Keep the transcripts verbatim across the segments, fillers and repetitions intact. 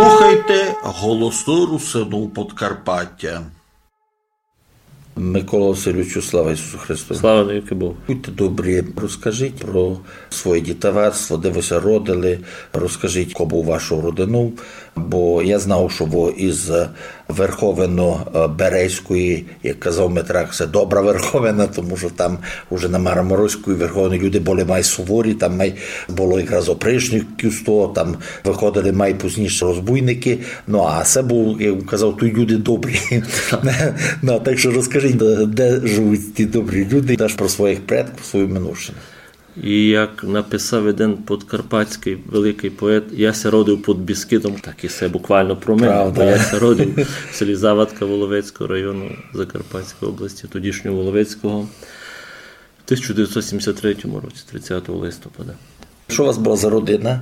Слухайте Голосы Русинув Подкарпатя. Микола Васильовичу, слава Ісусу Христу! Слава навікы Богу! Будьте добрі, розкажіть про своє дітовацтво, де вы ся родили, розкажіть, ко быв вашов родинув, бо я знав, што вы із Верховино-Березької, як казав Митрак, се добра Верховина, тому што там уже на Мараморовської Верховині люди были май суворі, там май было якраз опришників з того, там выходили май пізніше розбойникы. Ну, а се быв, як казав, туй люди добрі. Ну, так што розкажіть, де, де живуть ті добрі люди, даш про своїх предків, свою минувшину. І як написав єден подкарпатськый великый поет: «Я ся родив під Бескидом», так і се буквално про мене, бо я ся родив в селі Завадка Воловецького району Закарпатської області, тодішнього Воловецького, в тисяча девятьсот сімдесят третьому році, тридцятого листопада. Што у вас была за родина?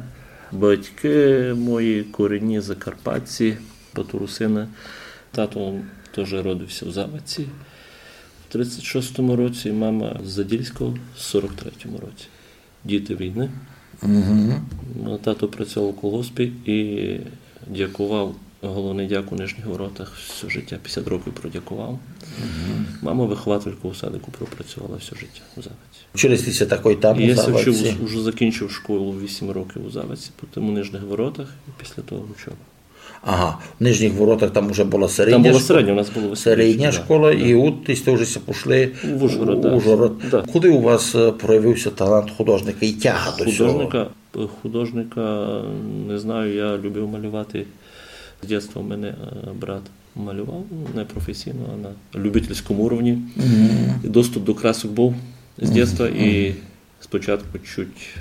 Батькы мої корінні закарпатці, Батурусины. Тато тоже родився в Завадці в тридцять шостому році, мама з Задільського в сорок третьому році. Діти війни. Угу. Ну, тато працював у колгоспі і дякував, головний дяк у Нижніх Воротах, все життя, пятдесят років продякував. Угу. Мама вихователька у садику пропрацювала все життя у Завадці. Вчили сте ся такой там, у Завадці? Я ся вчив, уже закінчив школу, вісім років у Завадці, потім у Нижніх Воротах і після того учоба. Ага, в Нижніх Воротах там уже была середня школа. Там была середня, у нас была середня школа, і от сте вже ся пішли в Ужгород. Да. Коли у вас, е, проявив ся талант художника і тяга до сього? Художника, художника, не знаю, я любив малювати. З дитинства в мене, е, брат малював, не професійно, а на любительському уровні. Мгм. І доступ до красок був з дитинства, і спочатку чуть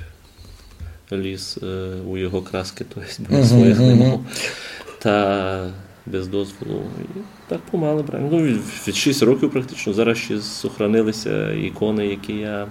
ліз, е, у його краски, то єсть, бо я своїх не мав. Та без дозволу. І так помалу брав. Ну, від, від шість років практично. Зараз ще сохранили ся ікони, які я,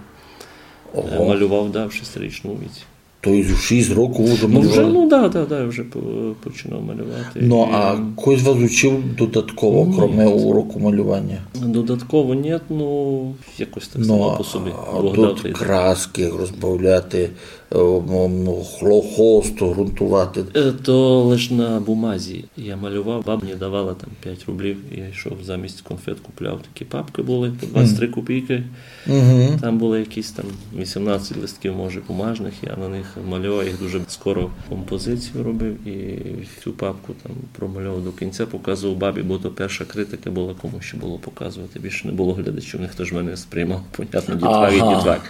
е, малював, да, в шестирічному віці. То єсть у шість років уже малював? Ну, вже, ну, да, да, да, вже по-, починав малювати. Ну, а хтось вас учив додатково, кроме уроку малювання? Додатково ні, ну, якось так само по собі. Ну, а Бог дав, тут краски, як розбавляти, е, м, м, хло-, холст ґрунтувати. Е, то лиш на бумазі я малював, баба мені давала там пять рублів, і я йшов замість конфет, купляв такі папкы були по двадцять три копійкы. Мгм. Там були якісь там вісімнадцять листків, може, бумажных, я на них малював, їх дуже скоро композицію робив, і всю папку там промальовував до кінця, показував бабі, бо то перша критика була, кому ще було показувати, більше не було глядачів, ніхто ж мене не сприймав, понятно, дітвак і дітвак.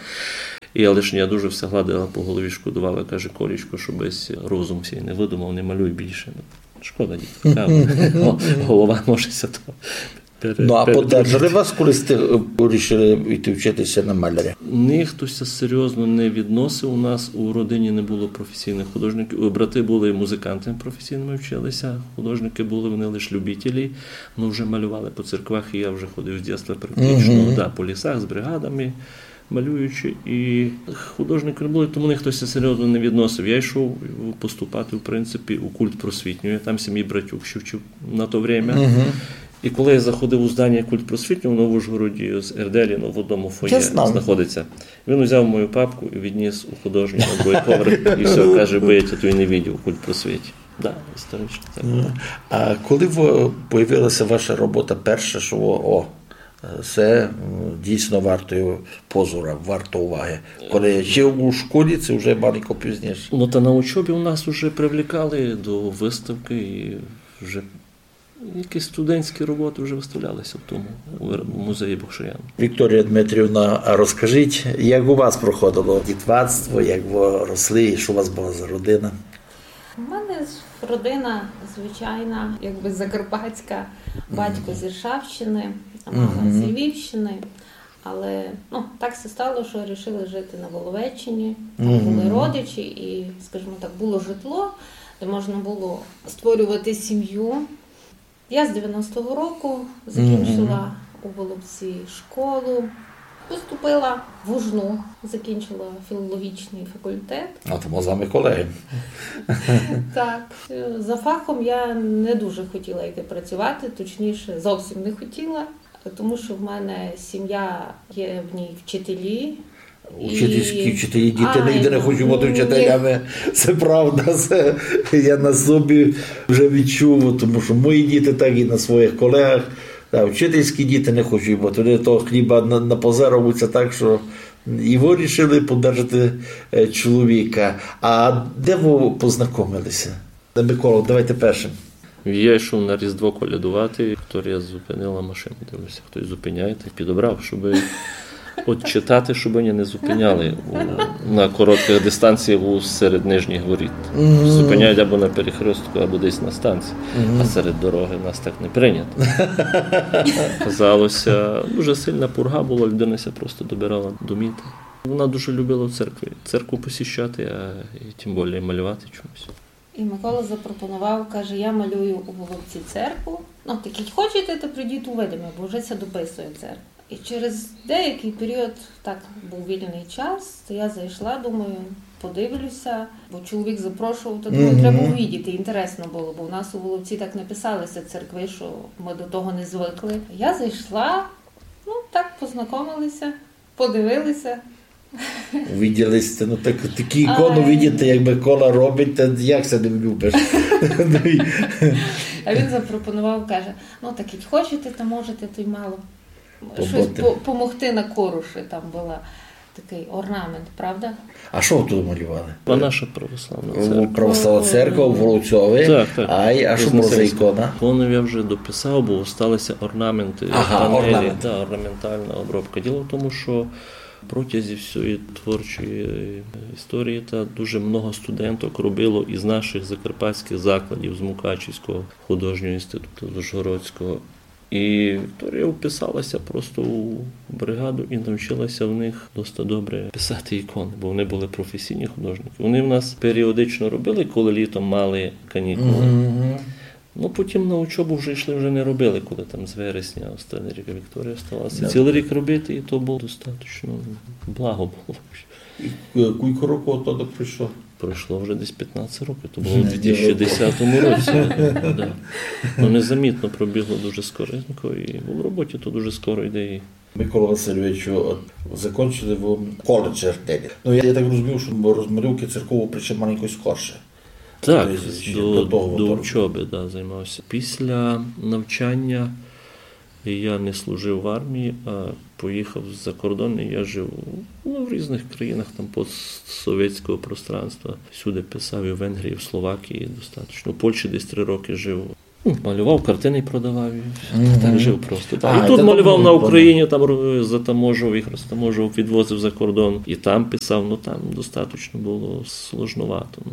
І я лише, я дуже все гладила по голові, шкодувала, каже: «Колічко, щоб весь розум сей не выдумав, не малюй більше». Шкода дітвака, голова може ся то пере-, перетрудити. Ну, а поддержали вас, коли сте, е, рішили йти вчити ся на маляря? Ніхто ся серйозно не відносив. У нас у родині не було професійных художників. Брати були музикантами професійными, вчили ся. Художникы були, вони лиш любителі. Ну, вже малювали по церквах, і я вже ходив з дитинства практично, да, по лісах з бригадами малюючи, і художників не було, тому ніхто ся серйозно не відносив. Я йшов поступати, в принципі, у культпросвітню. Я там сім'ї братюк ще вчив на то время. Мгм. І коли я заходив у здання культпросвітнього, воно в Ужгороді з Ерделіно в одному фоє знаходиться. Я знав. Він узяв мою папку і відніс у художню на другий поверх, і все, каже: «Бо я тя туй не видів у культпросвіті». Да, історично так. Ну, а коли в-, появила ся ваша робота перша, што, о, е, се, м, дійсно варто позора, варто уваги? Коли ще у школі, ци вже маленько пізніше? Ну, та на учобі у нас уже привлікали до выставкы, і вже якісь студентські роботы вже выставляли ся в тому, у вир-, у музеї Бокшояна. Вікторія Дмитріївна, а розкажіть, як у вас проходило дітвацтво, як вы росли, і што у вас была за родина? У мене з-, родина звичайна, якби закарпатська, батько з Іршавщини, мама з Львівщини. Але, ну, так ся стало, што рішили жити на Воловеччині. Там були родичі і, скажімо так, було житло, де можна було створювати сім'ю. Я з девяностого року закінчила у Воловці школу. Поступила в УжНУ, закінчила філологічний факультет. А то мы з вами колеґы. Так. За фахом я не дуже хотіла йти працювати, точніше, зовсім не хотіла, тому що в мене сім'я, є в ній вчителі, Учительські вчителі, діти нигде не хочуть бути вчителями. Це правда, це я на собі вже відчув, тому що мої діти так і на своїх колегах. Та вчительські діти не хочуть бути. Вони того хліба на, напозоруються так, що і вирішили подержати е, чоловіка. А де ви познайомилися? Микола, давайте першим. Я йшов на Різдво колядувати, Вікторія зупинила машину. Дивлюся, хтось зупиняє, так підобрав, щоб от читати, щоб мене не зупиняли у, на коротких дистанціях у серед нижніх воріт. Зупиняють або на перехрестку, або десь на станції. А серед дороги в нас так не прийнято. Казалося, дуже сильна пурга була, людина ся просто добирала до міта. Вона дуже любила в церкві, церкву посіщати, а і тим більше малювати чомусь. І Микола запропонував, каже: «Я малюю у Воловці церкву. Ну, так як хочете, то прийдіть, увидиме, бо вже ся дописує церква». І через деякий період, так був вільний час, то я зайшла, думаю, подивлюся, бо чоловік запрошував, то думаю, треба увидіти, інтересно було, бо у нас у Воловці так не писалися церкви, що ми до того не звикли. Я зайшла, ну, так познайомилися, подивилися. Увиділи сте, ну так, такі ікони видіти, як Микола робить, та як се не влюбиш? Ну, і А він запропонував, каже: «Ну, так як хочете, то можете, то й мало щось Побути. по- помогти на короші». Там була такий орнамент, правда? А що ви тут малювали? А наша православна О, церква. Православна церква у Воловцьові. Так, так. Ай, а що було за Вознесенська. Ікона? Ікону я вже дописав, бо осталися орнаменти, Ага, панелі, орнамент. Да, орнаментальна обробка. Діло в тому, що протязі всієї творчої історії та дуже много студенток робило із наших закарпатських закладів, з Мукачівського художнього інституту, з Ужгородського. І Вікторія вписалася просто у бригаду і навчилася в них досить добре писати ікони, бо вони були професійні художники. Вони в нас періодично робили, коли літом мали канікули. Мгм. Ну, потім на учобу вже йшли, вже не робили, коли там з вересня останній рік Вікторія осталася. Да. Цілий рік робити, і то було достатньо благо було. І, е, кілько років оттуда пройшло? Пройшло вже десь п'ятнадцять років, то було в Мгм. дві тисячі десятому році. Да. Ну, незамітно пробігло дуже скоренько, і в роботі то дуже скоро йде. І Микола Васильовичу, от закончили ви коледж Артелі. Ну, я, я так розумію, що розмальовки церкову прийшли маленько скорше. Так, Тобто, ще до, до того до второго. Учоби, да, займався. Після навчання я не служив в армії, а поїхав за кордон, і я жив, ну, в різних країнах там постсовєтського пространства. Всюди писав, і в Венгрії, в Словакії достатньо. У Польщі десь три роки жив. Ну, малював картини і продавав, і Мгм. так жив просто. Так. А, І тут та малював то на було Україні, там ро- затаможував їх, розтаможував, відвозив за кордон. І там писав, ну там достатньо було сложновато. Ну.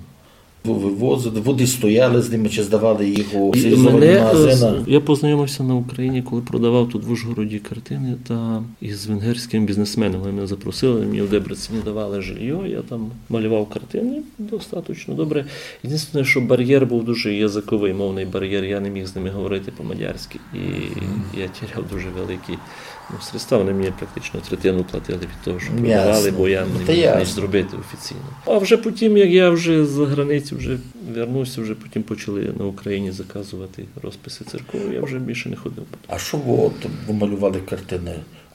Ви вивозили, ви десь стояли з ними чи здавали їх у І спеціалізовані мене, е, магазини? з- я познайомився на Україні, коли продавав тут в Ужгороді картини, та із венгерськими бізнесменами вони мене запросили, мені в Дебрецені давали жилье, я там малював картини достатньо добре. Єдине, що бар'єр був дуже язиковий, мовний бар'єр, я не міг з ними говорити по-мадярськи. І Мгм. я тіряв дуже великі, ну, средства, вони мені практично третину платили від того, що Ясно. продавали, бо я Ну, не та міг ясно. ніч зробити офіційно. А вже потім, як я вже з границі вже вернувся, вже потім почали на Україні заказувати розписи церков, я вже більше не ходив. А що ви от, ви малювали картини?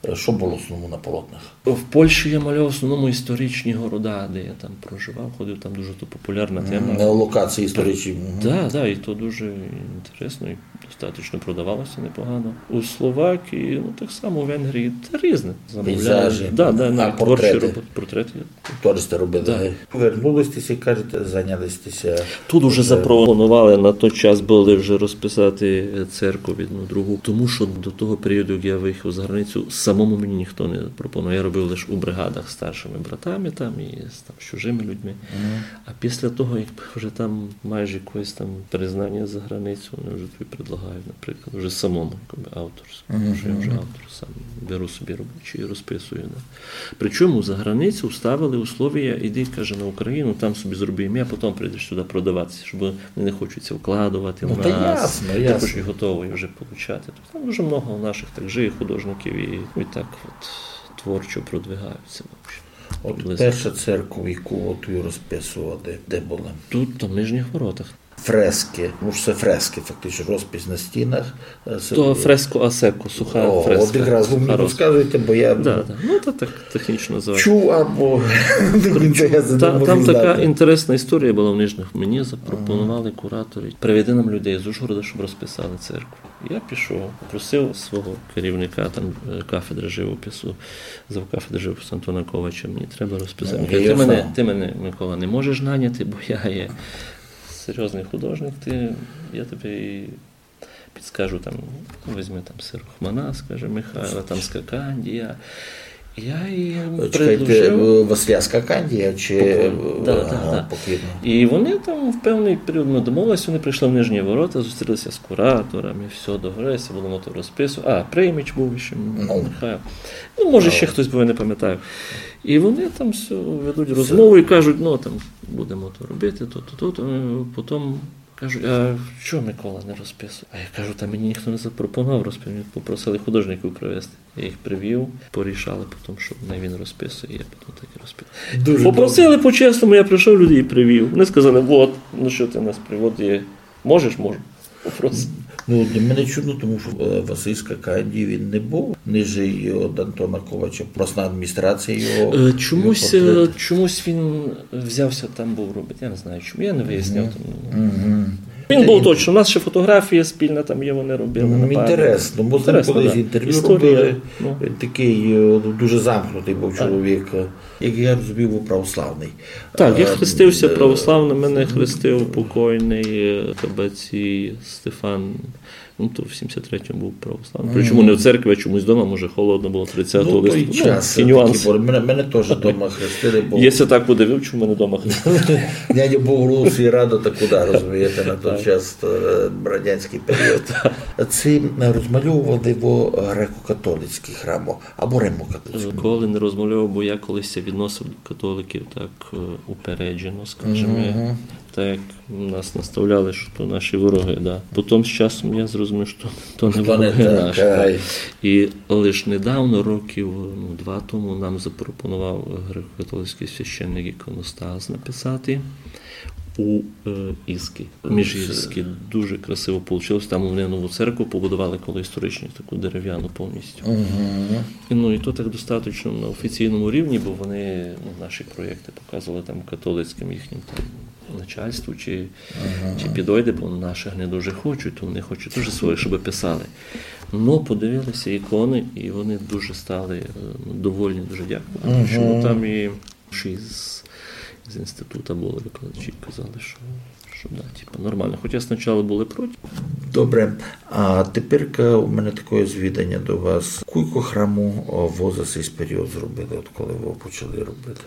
Е, що було в основному на полотнах? В Польщі я малював в основному історичні города, де я там проживав, ходив, там дуже то популярна М, тема. на локації історичні, мгм. Да, да, і то дуже інтересно, і достатньо продавалося непогано. У Словакії, ну, так само в Венгрії, та різне. Замовляли. Пейзажі, Да, да, а навіть творчі портрети? робот-, портрети. Тоже сте робили, Да. гей? Вернули сте ся, кажете, зайняли сте ся Тут уже уже запропонували, на той час були вже розписати, е, церкву одну другу, тому що до того періоду, як я виїхав за границю, самому мені ніхто не пропонував. Я робив лише у бригадах з старшими братами там і з, там, з чужими людьми. Мгм. А після того, як вже там майже якогось там признання за границю, вони вже тобі предлагають, наприклад, вже самому, якби, авторську, Мгм. що я вже автор сам беру собі робочі і розписую. Да. Причому за границю вставили условия: «Іди, каже, на Україну, там собі зроби ім'я, потім прийдеш сюди продаватися», щоб вони не хочуть ся вкладувати Ну, в та нас, ясно, також ясно. і готовий вже получати. Тобто там дуже много наших так же художників і, і так от творчо продвигаються. В общем. От Приблизно. перша церква, яку от ви розписували, де була? Тут, там, в Нижніх Воротах. фрески, ну, це фрески, фактично, розпис на стінах. Е, це То фреско а секко, суха О, фреска. От якраз ви мені Суха розпис. Розказуєте, бо я Да, да. Ну, то так технічно називається. Чув, або до кінця я це не Та, можу там така знати. Інтересна історія була в Нижніх. Мені запропонували кураторі: «Приведи нам людей з Ужгорода, щоб розписали церкву». Я пішов, попросив свого керівника там, е, кафедри живопису, завкафедри живопису Антона Ковача: «Мені треба розписати». Ну, Він каже: я «Ти мене, знав. Ти мене, Микола, не можеш наняти, бо я є серйозний художник, ти, я тобі підскажу, там, візьми там Сирохмана, скаже, Михайла, там Скакандія». Я їй Чекайте, предложив. Василя Скакандія чи Покойно. Да, да, Ага, да. покійно. І вони там в певний період ми домовилися, вони прийшли в Нижній Ворота, зустрілися з кураторами, все, договорилися, будемо то розписувати. А, Приймич був ще, Ну. Михайло. Ну, може, ще хтось був, я не пам'ятаю. І вони там все ведуть розмову і кажуть: «Ну, там, будемо то робити, то, то, то, то». Е, Потім кажуть: «А що Микола не розписує?» А я кажу: «Та мені ніхто не запропонував розписати, мені попросили художників привезти». Я їх привів, порішали потім, що не він розписує, я потім так і розписав. Дуже Попросили по-чесному, я прийшов, людей привів. Вони сказали: «Вот, ну що ти нас приводиш? Можеш?» «Можу». Просто. Ну, для мене чудно, тому що е, Василь Скакандій, він не був нижчий від Антона Ковача, власна адміністрація його. Е, Чомусь, його е, портрет. Чомусь він взявся там був робити. Я не знаю чому. Я не виясняв. Там. Мгм. Він був точно. У нас ще фотографія спільна там є, вони робили. Ну, на пам'ять. Інтересно, бо з ним Інтересно, колись да. Інтерв'ю Історія, робили. Ну. Він такий е, дуже замкнутий був чоловік. Як я розумів, був православний. Так, я Е, хрестився е, православно, мене хрестив покойний е, Кабеці Стефан. Ну, то в сімдесят третьому був православний. Причому не в церкві, а чомусь вдома, може, холодно було тридцятого Ну, той листопада. час, Ну, такі нюанси. Мене, мене теж вдома хрестили, бо Я ся так удивив, чому мене вдома хрестили. Дядя був в Русі радо, та куди, розумієте, на той час е, радянський період. Це розмальовували його греко-католицькі храми або римокатолицькі. Коли не розмальовував, бо я колись ся відносив до католиків так е, упереджено, скажімо. Так як нас наставляли, що то наші вороги, да. Потім з часом я зрозумів, що то не То не вороги так, наші. Ай. І лише недавно, років ну, два тому, нам запропонував греко-католицький священник іконостас написати у е, Ізкі. Міжгірській. Дуже красиво вийшло. Там вони нову церкву побудували коло історичну, таку дерев'яну повністю. І, Ну і то так достатньо на офіційному рівні, бо вони ну, наші проєкти показували там католицьким їхнім там начальству, чи, чи підойде, бо наших не дуже хочуть, то вони хочуть дуже своє, щоб писали. Ну, подивилися ікони, і вони дуже стали е, довольні, дуже дякую. Тому що ну, там і ще з, з інституту були викладачі, казали, що, що да, типу, нормально. Хоча спочатку були проти. Добре, а тепер у мене таке звідання до вас. Кілько храму о, ви за цей період зробили, от коли ви почали робити?